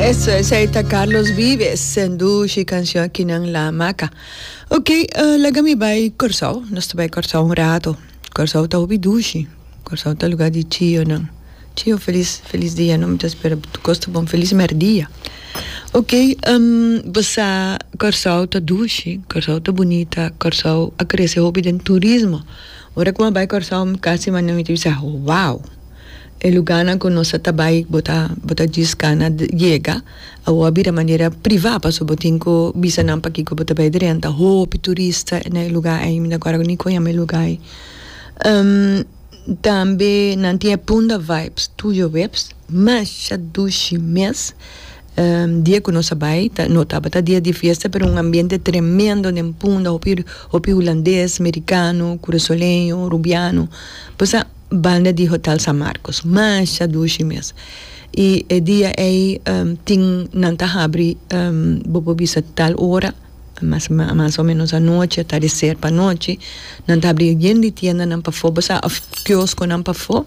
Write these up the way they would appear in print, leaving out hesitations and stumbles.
Eso, esei ta Carlos Vives, dushi cancion aki nan La Hamaca. Ok, laga mi bai Corsou, nos ta bai Corsou un rato. Corsou ta hopi dushi, Corsou ta lugar di chionan. Chio felis, felis dia no, mi ta spera tur cos ta bon, felis merdia. Ok, bo sa Corsou ta dushi, Corsou ta bunita, Corsou a crece hopi den turismo. Ora cu mi a bai Corsou mi casi manda mi ta bisa wow! E lugarnan ku nos a ta bai bo ta bo ta djis kana yega awor a bira manera privá pasobra bo tin ku bisa nan pakiko bo ta bai drenta hopi turista na e lugá ei mi ta kòrda ni kon yama e lugá ei tambe nan tin e Punda Vibes Tuyo Webs masha dushi mes dia ku nos a bai ta no tabata dia di fiesta pero un ambiente tremendo den Punda hopi hopi hulandes merikano kurasoleño rubiano pues a. Banda di Hotel San Marcos. Masha dushi mes. I e dia ei tin nan ta habri bo por bisa tal ora, mas mas o menos anochi, atardecer pa anochi, nan ta habri yen di tiendanan pafó, bo sa, of kioskonan pafó,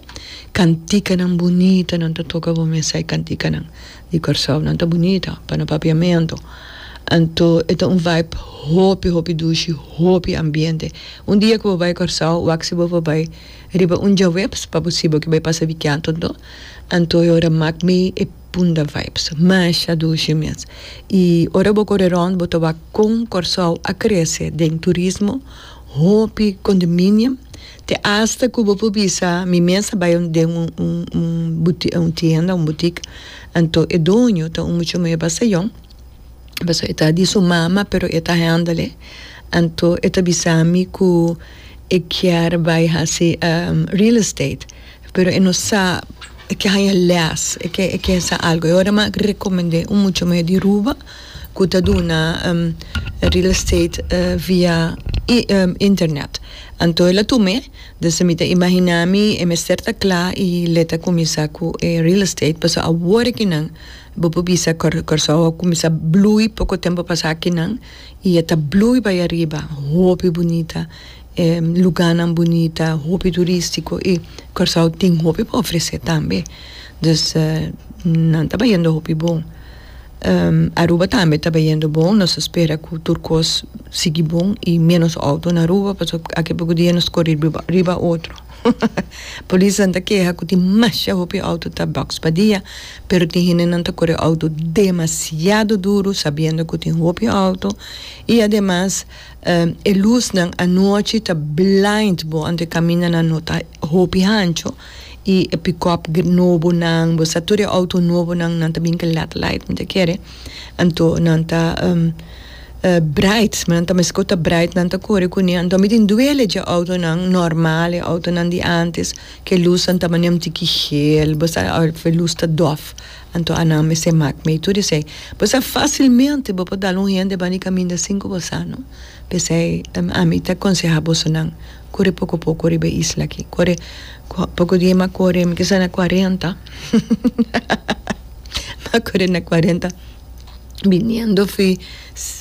kantikanan bunita nan ta toka bo mesa e kantikanan di Kòrsou, nan ta bunita pa na papiamentu. Anto e ta un vibe hopi hopi dushi, hopi ambiente. Un dia ku bo bai Kòrsou, wak si bo por bai Riba un djaweps pa bo si bo ke bai pasa wikianto anto, anto e ora mak mi e Punda Vibes. Masha dushi mes. I ora bo kore rond bo ta wak kon Kòrsou a krese den turismo, hopi condominium, te asta ku bo por bisa mi mes a bai den un un un un tienda, un butik, anto e doño ta un mucha muhé basta yòn. Pasobra e ta di su mama pero e ta handle. Anto e ta bisa mi ku e kier bai hasi real estate pero e no sa e ke haña les e ke e ke sa algo. E ora mi a rekomend'é un mucha muhé di Aruba ku ta duna real estate via internet. Anto el a tum'é, dus mi ta imaginá mi e mester ta kla i le ta kuminsá ku e real estate pasobra awor akinan Bo por bisa Kòrsou a kuminsá blui poko tempu pasá akinan i e ta blui bai ariba. Hopi bunita, e lugánan bunita, hopi turístiko i Kòrsou tin hopi pa ofresé tambe. Dus nan ta bayendo hopi bon. Aruba tambe ta bayendo bon, nos ta spera ku tur kos sigui bon i ménos outo na Aruba pasobra aki poko dia nos kore riba otro. Polisnan ta keha ku tin masha hopi outo ta boks pa dia, pero tin hendenan ta kore outo demasiado duru sabiendo ku tin hopi outo i ademas e lusnan anochi ta blind bo anto e kamindanan no ta hopi hancho i e pikòp nobonan bo sa tur e outo nobonan nan ta bin ku led light mi ta kere anto nan ta Bright, nan ta meskos ta bright nan ta kore kuné, anto mi tin duele dje outonan normal, e outonan di antes, ke lusnan ta manera un tiki geel, bo sa of e lus ta dof, anto anan mester mak mei tur esei. Bo sa fasilmente bo por dal un hende banda di kaminda sin ku bo sa no. P'esei ami ta konsehá bosonan kore poko poko riba e isla aki, kore poko dia mi a kore mi kisa na kuarenta, mi a kore na kuarenta. Biniendo fi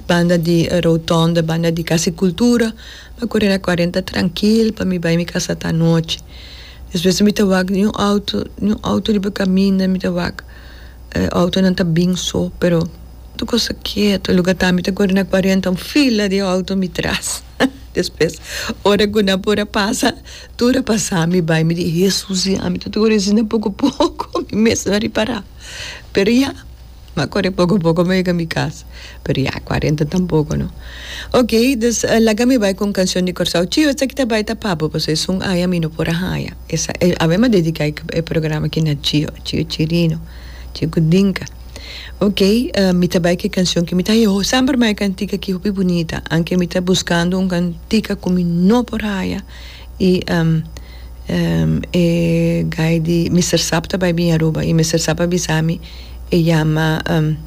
banda di rotonde, banda di Casa di Cultura, mi a kore na cuarenta trankil pa mi bai mi casa ta anochi. Despues mi ta wak niun auto, niun auto riba caminda, mi ta wak e autonan ta bin so, pero tur cos ta keto. Luga ta mi ta kore na cuarenta un fila di auto mi tras. Despues ora cu nan por a pasa, tur a pasa mi bai, mi di Hesus ya mi ta kore asina poco poco, mi mes no a ripara. Pero ya. M'a kore poko poko m'a yega mi kas. Pero ya, kuarenta tampoko no. Ok, dus laga mi bai ku un kanshon di Kòrsou. Chio, esaki ta bai ta pa bo, pasobra esun aña mi no por a haña. Esa, awe m'a dediká e programa aki na Chio, Chio Chirino, Chio Kudinka. Ok, mi ta bai ku e kanshon ki mi ta haña. Semper mi haña e kantika aki hopi bunita, anke mi ta buskando un kantika ku mi no por haña. I e guy di Mister Sap ta bai bin Aruba i Mister Sap a bisa mi e yama kon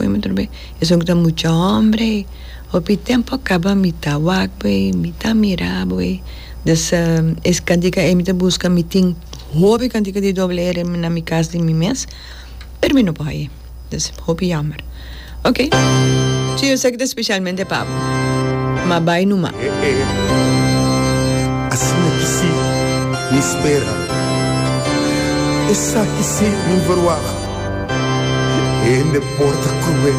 yama otro be? Esun ku ta mucha hombre hopi tempo a kaba mi ta wak bo ei mi ta mira bo ei dus es kantika ei mi ta buska mi tin hopi kantika di doble ere na mi kas di mi mes pero mi no por haye. Dus hopi jammer. Ok. Si yo sa ki ta specialmente pa bo. Ma bai numa. Asina ki si mi spera. Esaki si mi verwacht. Hende por ta cruel.